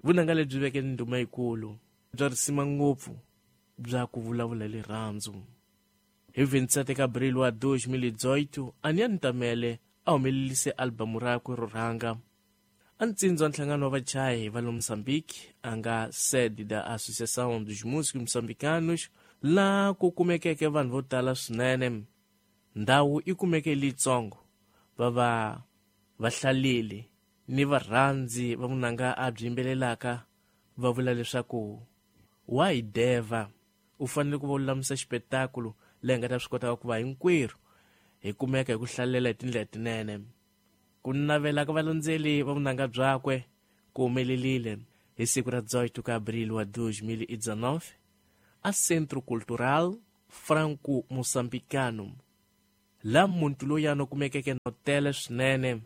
Vunanga lebyi veke ni ndhuma yikulu bya risima ngopfu bya ku vulavula hi rirhandzu. Hi 27 ka Abril wa 2018, Aniani Ntamele a humelelise albamu rakwe ro rhanga. A ntsindzi wa nhlangano wa vachayi va le Mozambique a nga sede da Associação dos Músicos Moçambicanos, laha ku kumekeke vanhu vo tala swinene. Ndhawu yi kumeke leyitsongo, va va vahlaleli ni varhandzi va vunanga a byi yimbelelaka va vula leswaku wa hi devha, u fanele ku va u lulamisa xipetakulu leyi nga ta swi kotaka ku va hinkwerhu hi kumeka hi ku hlalela hi tindlela tinene. Ku navela ka valandzeli va vunanga byakwe ku humelelile hi siku ra 18 ka Abril wa 2019 a Centro Cultural Franco Moçambicano, laha muntu loyana u kumekeke no tele swinene,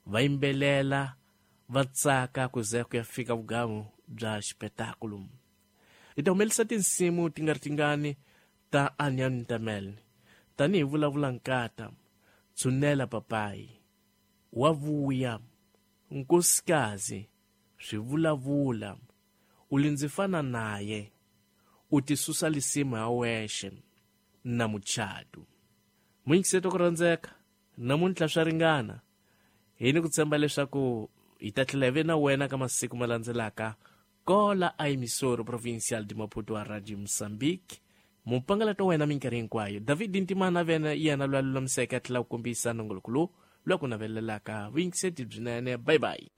va yimbelela va tsaka ku ze ku ya fika vugamu bya xipetakulu. Hi ta humelisa tinsimu ti nga ri tingani ta Aniani Ntamele tanihi Vulavula Nkata, Tshunela Papayi, Wa Vuya, Nkosikazi, Swivulavula, U Li Ndzi Fana Naye, U Tisusa Lisimu Ha Wexe na Muchadu. Muyingiseti wa ku rhandzeka, namuntlha swa ringana. Hi ni ku tshemba leswaku hi ta tlhela hi ve na wena ka masiku ma landzelaka kola a emissora provincial de Maputo a Radio Moçambique. Mupangalato wa wena minkarhi hinkwayo, David Ntimana vena yena loyi a lulamiseke a tlhela ku kombisa nongoloko lowu loyi a ku navelelaka vuyingiseti byinene. Bye bye.